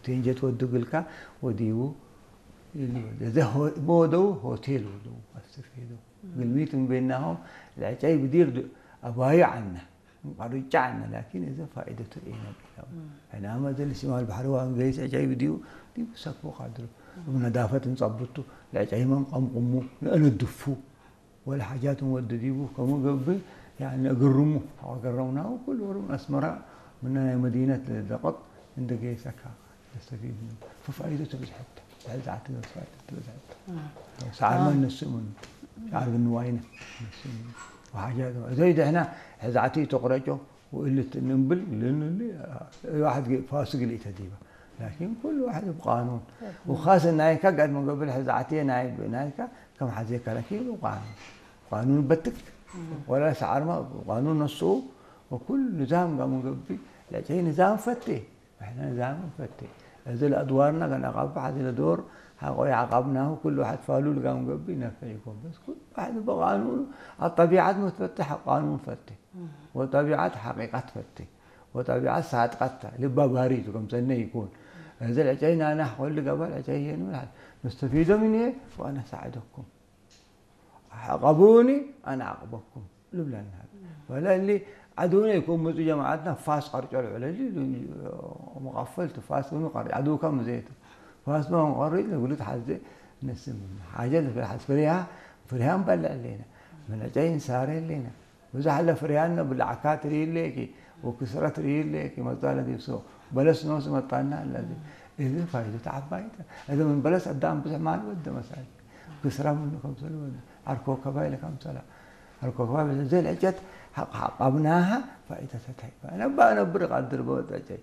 ቴንጀት ወዱ ግልካ ወዲቡ ኢሉ። እዚ ሆ-፣ መወደው ሆቴል ወደው ኣስተፍሄዶ። ግልሚት እምቤናሆም ለዕጫይ ብዲር ድ-፣ ኣባዩ ዓና። እንቋርጫ ዓና፣ ላኪን እዚ ፋይደቱ ኤነ ቢላው። ሕናመ ዘል ሽማል ባሕሪ ዋን ገይስ ዕጫይ ብዲዩ፣ ዲቡ ሰክቦ ካድሩ። እብ ነዳፈት እንጸብቱ፣ ለዕጫይ መን ቀምቁሙ፣ ንእንድፉ። ወላ ሓጃት ወዲ ዲቡ፣ ከሙ ገብእ፣ ያኒ እግርሙ፣ ኣገረምናሁ፣ ኩሉ ወሩ ኣስመራ፣ ምና ናይ መዲነት ደቀጥ፣ እንደ ገይሰካ። ነስተፊድ ምኑ። ፈፋይደቱ ብዝሐት፣ ሕዛዕቲ ነስተፋይደቱ ብዝሐት። ሰዓርማ ነሱ ምኑ። ሰዓር ብንዋይነ ነሱ ምኑ። ወሓጃት፣ እዞይ ደሕና ሕዛዕቲ ተቑረጮ፣ ወእልት እንብል፣ ልንሊ፣ ዋሕድ ግ-፣ ፋሱ ግልኢተ ዲባ። ላኪን ኩሉ ዋሕድ ብቃኑን። ወኻስ ናይካ ጋድ መገብር ሕዛዕቲ ናይ፣ ናይካ ከም ሓዜካ ላኪን ብቃኑን። ቃኑን በትክ። ወላ ሰዓርማ ቃኑን ነሱ፣ ወኩሉ ንዛም ጋር መገብር፣ ለጨይ ንዛም ፈቴ። እሕና ንዛም ፈቴ። እዚ ለአድዋርና ጋር አቃብ ሐዚ ለዶር ሐቆ ያዕቃብናሁ ኩሉ ዋሕድ ፋሉ ልጋም ገብእ ይነፍዕ ይኮን። በስ ኩሉ ዋሕድ በቃኑኑ ኣብ ጠቢዓት መትፈትሕ ቃኑን ፈቴ። ወጠቢዓት ሐቂቃት ፈቴ። ወጠቢዓት ሳድቃት ልባ ባሪ ትከምሰነ ይኮን። እዚ ለጨይ ናና ሐቆል ገባል ዐጨይ የንብል ነስተፊዶ ምን ወአና ሳዕደኩም። عاقبوني أنا أعاقبكم ልብለና። ወላ እሊ ዓድውነ ይኮን ምጹ ጀማዓትና ፋስ ቀርጮ ልዕለሊ መቐፈልቲ ፋስ ግን ቀር-፣ ዓድውካ ምዘየቱ ፋስ መቐሪጭ ንጉልት ሓዘ ነስም ሓጀ ንፍርሓት ፍሪሃ ፍሪሃ ንበልዕ ኣለና። መለጨይ ንሳረ ኣለና። ብዙሕ ኣለ ፍሪሃን ብላዕካ ትርኢ ኣለኪ ወክስረት ትርኢ ኣለኪ መጻለ ዲብሶ በለስ ነውስ መጣና ኣለዚ። እዚ ፋይዱ ተዓባይተ። እዚ ምን በለስ ኣዳም ብዙሕ ማል ወደ መሳል። ክስራ ምኑ ከምሰሉ ወደ። ዓርኮ ከባይ ለካምሰላ። ዓርኮ ከባይ ዘል ዕጨት ሓቕ ሓቕ ኣብናሃ ፋይዳ ተታይ። ነባ ነብር ቃድር በወጣጨይ።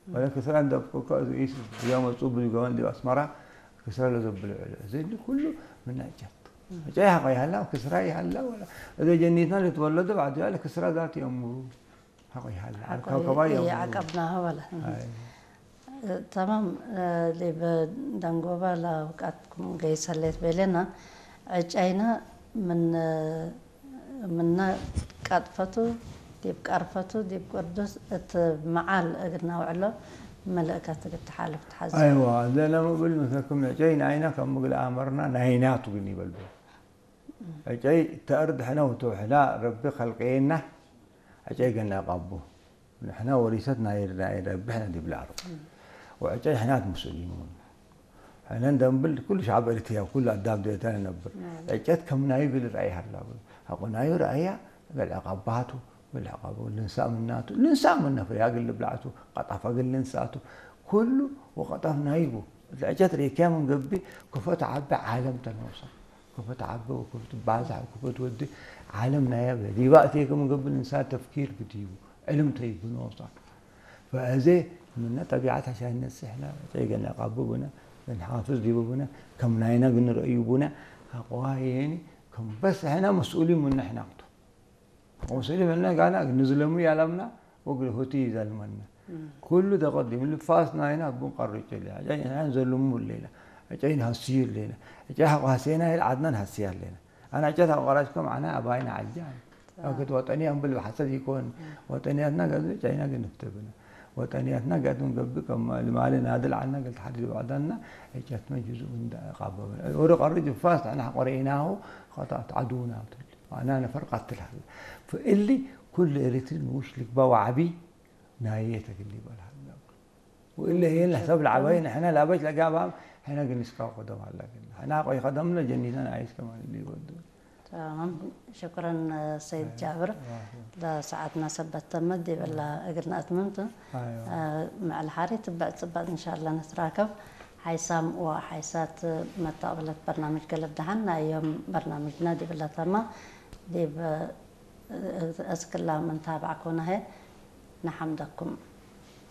ወለ ክስራ እንደብኩ ከዚ ኢስ ያመጹ ብዙ ገበን ዲብ ኣስመራ ክስራ ለዘብሉ ዕሉ። እዚ ኩሉ ምን ዕጨት። ዕጨይ ሓቕ ይሃላ፣ ክስራ ይሃላ፣ ወላ። እዚ ጀኒትና ልትወለዱ ባዕዱ ያለ ክስራ ዛት የምሩ። ሓቕ ይሃላ። ሓቆ ዓርኮ ከባይ የምሩ። ይዓቀብናሃ ወላ። ኣይ። ተማም፣ እ፣ ሊብ ደንጎባ ላውቃትኩም ገይሰሌት ቤሌና፣ ዕጫይና ምን፣ ምነ ቀጥፈቱ፣ ዲብ ቀርፈቱ፣ ዲብ ቅዱስ እት መዓል እግርና ውዕሎ፣ መልእከት እግር ተሓልፍ ተሓዝ። ኣይዋ፣ ዘለ ምብል ምሰኩም ዕጨይ ናይና ከም ምግል ኣመርና ናይናቱ ግን ይበልቡ። ዕጨይ ተእርድ ሕነ ውትውሕላ ረቢ ኸልቀየና፣ ዕጨይ ገና ቃቡ። ንሕና ወሪሰት ናይ፣ ናይ ረቢ ሕነ ዲብላ ዓርቡ። ወዕጨይ ሕናት ሙስሊሙን። ሕነ እንደንብል ኩሉ ሻዕብ ኤርትራ፣ ኩሉ ኣዳም ደታ ነብር። ናይ። ዕጨት ከም ናዩ ግል ራእይ ሃላ። ሃቆ ናዩ ራእያ፣ ገል ዕቃባቱ፣ ገል ዕቃቡ፣ ልንሳ ምናቱ፣ ልንሳ ምና ፍርያ ግል ብላዕቱ፣ ቀጣፋ ግል ልንሳቱ፣ ኩሉ ወቀጣፍ ናይቡ። ዕጨት ርኢክያ ምን ገቢ፣ ክፈት ዓቢ ዓለም ተነውሳ። ክፈት ዓቢ፣ ክፈት ባዛሕ፣ ክፈት ወዲ ዓለም ናያ በ። ዲባ እትየ ከም ገቢ ልንሳ ተፍኪር ግዲቡ። ዕልም ተይብኖ ሳ። ፈእዜ ምነ ጠቢዓት ሐሻነት ስሕና ጨይገና ቃቡ ብነ፣ ንሓፍዝ ዲቡ ብነ፣ ከም ናይና ግን ረእዩ ብነ፣ ኣቋየኒ፣ ከም በስ ሕና መስኡሊ ምነ ሕናቅቱ። መስኡሊ ምነ ጋና ንዝለሙ ያላምና፣ ወግሪ ሁቲ ይዘልመና። ኩሉ ተቀዲም ልፋስ ናይና ቡን ቀርጭ ሌላ። ጨይ ናይን ዘልሙ ሌላ። ጨይ ንሃስዩ ሌላ። ጨይ ሓቋ ሃሴና ይል ዓድና ንሃስያ ሌላ። ኣና ጨት ኣቋራጭ ከም ዓና ኣባይና ዓጃ። ኣክት ወጠንያ እምብል ብሓሰብ ይኮን። ወጠንያትና ገዝ ጨይና ግን ንፍተብና። ወጠንያትና ገዝ ንገብእ ከም ልማለ ናድል ዓና ገል ተሓዲድ ባዕዳና ጨት መጅዙ እንዳ ቃበበ። ወደ ቀሪ ጅፋስ ኣና ቆረኢናሁ ኸታት ዓዱና ትል። ኣና ነፈር ቃትል ሃለ። ፈእሊ ኩሉ ኤሪትሪ ንውሽ ልግባ ዋዕቢ ናየ ተግል ይበል ሃለ። ወእለ የለ ሰብ ለዓባይ ንሕና ላበች ለጋባም ሕና ግን እስካ ቆደም ሃላ ግን። ሕና ቆይ ኸደምነ ጀኒተን ኣይስ ከማን ይወዱ። تمام. شكرا سيد جابر. لساعتنا سبت تمد يبلا أقرنا أتممت. أيوة. آه، مع الحاري تبع تبع إن شاء الله نتراكب. حيسام وحيسات متقبلة برنامج قلب دهن. يوم برنامجنا دي بلا تما. دي ب-، أذكر الله من تابعكونا هي. نحمدكم.